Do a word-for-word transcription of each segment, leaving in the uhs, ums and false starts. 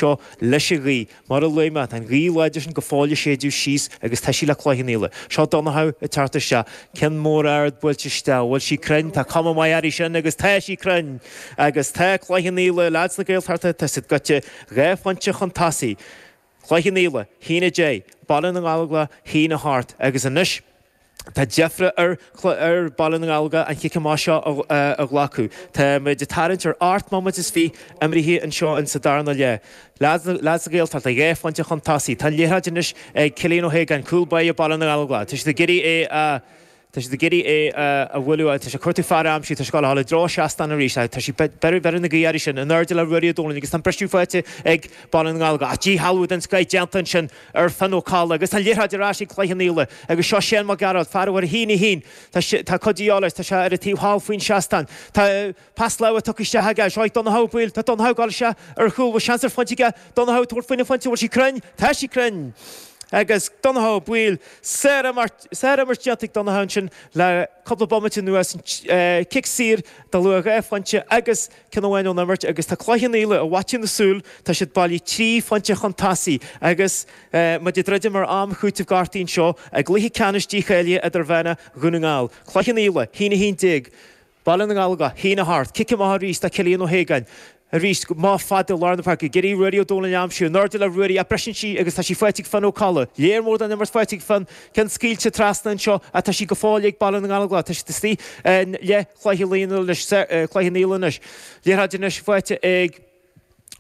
anseo leis an ghaoth. Mar a luaigh mé, tá an ghaoth láidir sin go fóill ag séideadh síos agus tá sí le Cloich Cheann Fhaola. Seo Donnchadh ag teacht isteach. Ceann mór ard buailte isteach. Bhfuil sí cruinn? Tá cuma maith uirthi sin agus tá sí cruinn! Agus tá Cloich Cheann Fhaola, leaids na Gaeltachta, tá siad gaibhte dhá phointe chun tosaigh. Cloich Cheann Fhaola, haon a deich, Baile na nGallóglach, haon a hocht agus anois tá deifre ar ar Baile na nGallóglach an chic amach seo a ghlacadh. Tá muid ag tarraingt ar ocht mbomaite is fiche imrithe anseo in sa darna leath. Leaids na Gaeltachta, dhá phointe chun tosaigh. Tá an liathróid anois ag Cillian Ó hAogáin, cúl báire Baile na nGallóglach. Tá siad ag iarraidh é a Tá siad ag iarraidh é a bhualadh, tá sé ag cuartú fear a aimsiú, tá sé ag gabháil i dtreo seastán arís, tá sí beireadh na gaoithe sin in airde le Ruairí Ó Dónaill agus tá an briseadh faighte ag Baile na nGallóglach. Ach díshealbhú den scoith déanta ansin ar Fionn Ó Cadhla agus tá an liathróid ar ais ag Cloich Cheann Fhaola agus seo Shane Mac Gearailt, fear uimhir a haon a haon. Tá cuid de dhíobháil air, tá sé ar an taobh thall faoin seastán. Tá pas láimhe tugtha isteach aige, seo ag Donnchadh Ó Baoill, tá Donnchadh ag gabháil isteach ar chúl, bhfuil seans ar phointe aige, Donnchadh ag tabhairt faoina phointe, bhfuil sí cruinn? Tá sí cruinn! Agus Donnchadh Ó Baoill, sárimirt déanta ag Donnchadh ansin le cúpla bomaite anuas, cic saor de luach dhá phointe agus ceann amháin ón imirt agus tá Cloich Cheann Fhaola i bhfaiteadh na súl, tá siad bailithe trí phointe chun tosaigh agus muid ag druidim ar am chúitimh gortaithe anseo i gcluiche ceannais dícháilithe idirmheánach Dhún na nGall. Cloich Cheann Fhaola, haon a haon déag. Baile na nGallóglach, haon a hocht. Cic amach arís do Cillian Ó hAogáin. Arís, amach fada i lár na páirce, ag iarraidh Ruairí Ó Dónaill a aimsiú. In airde le Ruairí ach briseann sí agus tá sí faighte ag Fionn Ó Cadhla. Léar mór den imirt faighte ag Fionn. Ceann scaoilte trasna anseo ach tá sí go fóill ag Baile na nGallóglach. Tá siad istigh i leath Chloich Cheann Fhaola anois. Liathróid anois faighte ag.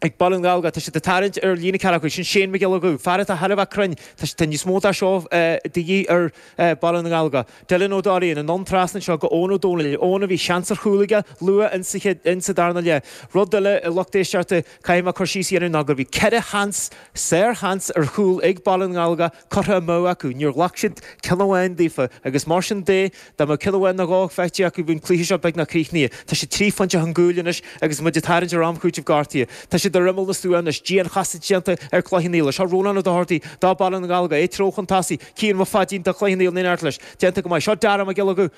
Ag Baile na nGallóglach, tá siad ag tarraingt ar líne ceathracha, sin Shane Mac Giolla Dhubh, fear atá thar a bheith cruinn, tá tá níos mó dá seo de dhíth ar Baile na nGallóglach. Dylan Ó Dorraí, anonn trasna anseo go Eoin Ó Dónaill, Eoin a bhí seans ar chúl aige luath insa chéad insa darna leath. Rud eile a lucht éisteachta, caithfidh mé cur síos a dhéanamh ná go bhí ceithre sheans, sár-sheans ar chúl ag Baile na nGallóglach curtha amú acu. Níor ghlac siad ceann amháin daofa agus mar sin de, dá mbeadh ceann amháin nó dhó faighte acu bhí an cluiche seo beagnach críochnaithe. Tá siad trí phointe chun cúil anois agus muid ag tarraingt ar am chúitimh gortaithe. Tá siad ar imeall na stua anois. Dian-chasadh déanta ar Chloich Cheann Fhaola. Seo Rónán Ó Dochartaigh do Baile na nGallóglach. É ag treabhadh chun tosaigh. Cian Mac Pháidín do Chloich Cheann Fhaola in éineacht leis. Déanta go maith. Seo Dara Mac Giolla Dhubh.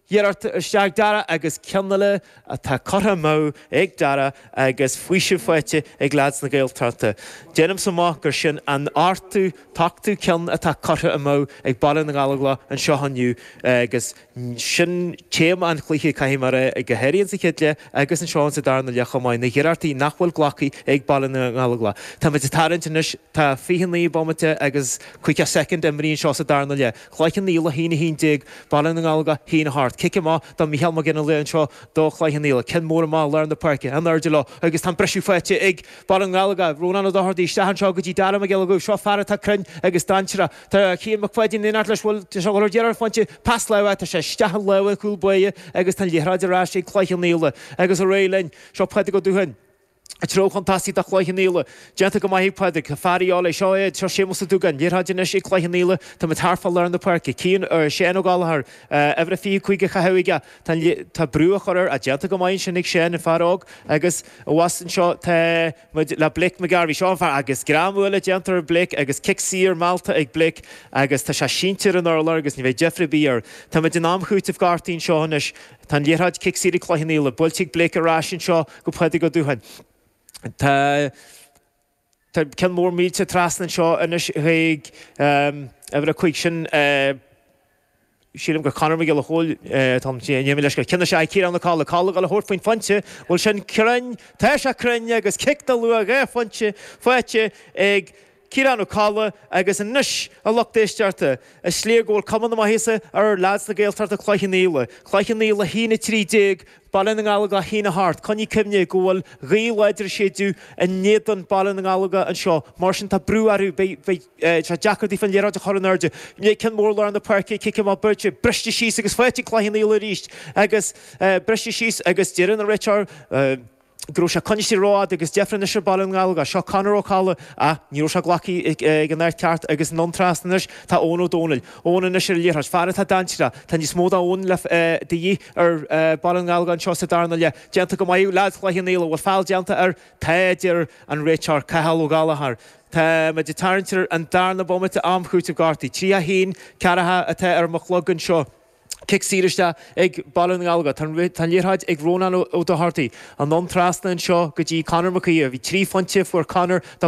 Iarracht isteach Dara agus ceann eile atá curtha amú ag Dara agus faoiseamh faighte ag leaids na Gaeltachta. Déanaimse amach gur sin an ochtú, t-ochtú ceann atá curtha amú ag Baile na nGallóglach anseo inniu agus sin téama an chluiche, caithfidh mé a rá, go háirithe sa chéad leath agus anseo sa darna leath chomh maith, na hiarrachtaí nach bhfuil glactha ag Baile na nGallóglach. Táimid ag tarraingt anois, tá fiche naoi bomaite agus caoga soicind imrithe anseo sa darna leath. Cloich Cheann Fhaola a haon a haon déag, Baile na nGallóglach a haon a hocht. Cic amach do Mhícheál Mac Fhionnghaile anseo do Chloich Cheann Fhaola. Ceann mór amach lár na páirce, in airde leo agus tá an briseadh faighte ag Baile na nGallóglach. Rónán Ó Dochartaigh isteach anseo go dtí Dara Mac Giolla Dhubh. Seo fear atá cruinn agus dainséarach. Tá Cian Mac Pháidín in éineacht leis. Bhfuil sé ag dul ar deireadh ar phointe? Pas láimhe, tá sé isteach i lámha an chúl báire agus tá an liathróid ar ais ag Cloich Cheann Fhaola. Agus ar aghaidh linn. Seo Pádraig Ó Dútháin. Ag treabhadh chun tosaigh do Chloich Cheann Fhaola. Déanta go maith ag Pádraig. Tá fear de dhíobháil air. Seo é. Seo Séamus Ó Dúgáin. Liathróid anois ag Cloich Cheann Fhaola. Tá muid thart fá lár na páirce. Cian, Seán Ó Gallchóir. Uimhir a fiche cúig á chaitheamh aige. Tá an, tá brú á chur air. Ach déanta go maith ansin ag Seán, an fear óg. Agus abhus anseo tá muid le Blake McGarvey. Seo an fear. Agus greamú eile déanta ar Blake agus cic saor meallta ag Blake agus tá sé sínte ar an urlár agus ní bheidh deifir ar bith air. Tá muid in am chúitimh gortaithe anseo anois. Tá an liathróid cic saor ag Cloich Cheann Fhaola. Buailte ag Blake ar ais anseo go Pádraig Ó Dútháin. Tá tá ceann mór millte trasna anseo anois chuig uimhir a cúig sin sílim gur Conor Mac Giolla Chóill atá in éineacht leis. Ceann isteach ag Ciarán Ó Cadhla. Cadhla ag dul a thabhairt faoin phointe. Bhfuil sin cruinn? Tá sé cruinn agus cic de luach dhá phointe faighte ag Ciarán Ó Cadhla agus anois, a lucht éisteachta, is léir go bhfuil cuma na maitheasa ar leaids na Gaeltachta Cloich Cheann Fhaola. Cloich Cheann Fhaola a haon a trí déag, Baile na nGallóglach a haon a hocht. Coinnigh cuimhne go bhfuil gaoth láidir ag séideadh in éadan Baile na nGallóglach anseo, mar sin tá brú orthu, beidh sé deacair daofa an liathróid a chur in airde. Ceann mór lár na páirce, cic amach buailte, briste síos agus faighte ag Cloich Cheann Fhaola arís agus briste síos agus deireann an réiteoir, go raibh sé coinnithe rófhada agus deifir anois ar Baile na nGallóglach. Seo Conor Ó Cadhla ach ní raibh sé glactha ag an áit ceart agus anonn trasna anois tá Eoin Ó Dónaill. Eoin anois ar an liathróid. Fear atá dainséarach. Tá níos mó d'Eoin le de dhíth ar Baile na nGallóglach anseo sa darna leath. Déanta go maith leaids Chloich Cheann Fhaola. Bhfuil feall déanta air? Tá, a deir an réiteoir Cathal Ó Gallchóir. Tá muid ag tarraingt ar an darna bomaite am chúitimh gortaithe. Tríocha haon ceathracha atá ar mo chlog anseo. Cic saor isteach ag Baile na nGallóglach. Tá an liathróid ag Rónán Ó Dochartaigh. Anonn trasna anseo go dtí Conor Mac Aoidh. Bhí trí phointe fuair Conor do